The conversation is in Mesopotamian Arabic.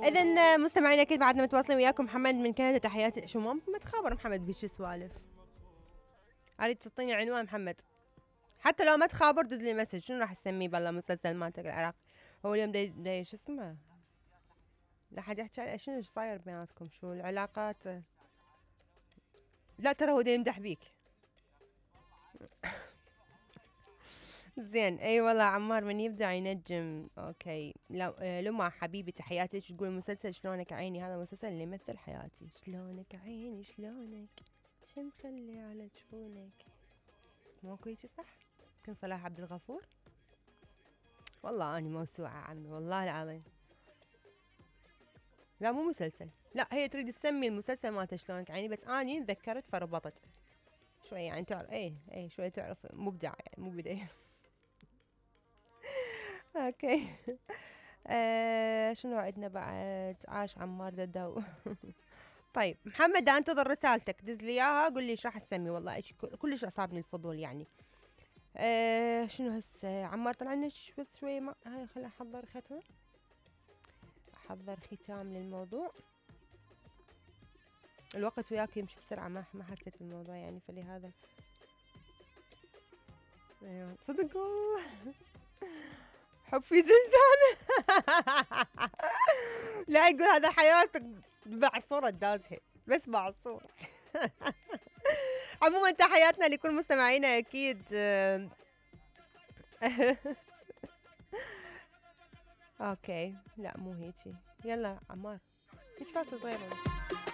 اذا مستمعينا اكيد بعدنا متواصلين وياكم. محمد من كندا تحياتي. شو ما تخابر محمد بيش سوالف. اريد تعطيني عنوان محمد، حتى لو ما تخابر دز لي مسج. شنو راح تسميه بالله مسلسل مالتك العراق؟ هو اليوم دي شو اسمه، لا حد يحكي شنو صاير بيناتكم، شو العلاقات؟ لا ترى هو دا يمدح بيك. زين اي والله عمار من يبدع ينجم. اوكي لما حبيبي تحياتك. تقول مسلسل شلونك عيني، هذا مسلسل اللي يمثل حياتي. شلونك عيني شلونك، شو مخلي على جفونك. ماكو هيجي صح؟ كن صلاح عبد الغفور. والله اني موسوعة عمي والله العظيم. لا مو مسلسل، لا هي تريد تسمي المسلسل مالته شلونك عيني، بس اني تذكرت فربطت شوي يعني. تعرف ايه شوي تعرف مبدعة يعني مو بداية. اوكي. شنو عندنا بعد؟ عاش عمار ددو. طيب محمد انتظر رسالتك، دز لي اياها قول لي ايش راح تسمي. والله كلش اصابني الفضول يعني. شنو هسه عمار طلع لنا بس شوي ما هاي. خليني احضر ختمه، احضر ختام للموضوع. الوقت وياك يمشي بسرعه، ما حسيت بالموضوع يعني، فلهذا ايوه صدق والله. حب في زنزانة. لا يقول هذا حياتك بعصورة دازها، بس بعصورة. عموما تحياتنا لكل مستمعينا اكيد. اوكي لا مو هيجي. يلا عمار هيك فاصل صغيرة.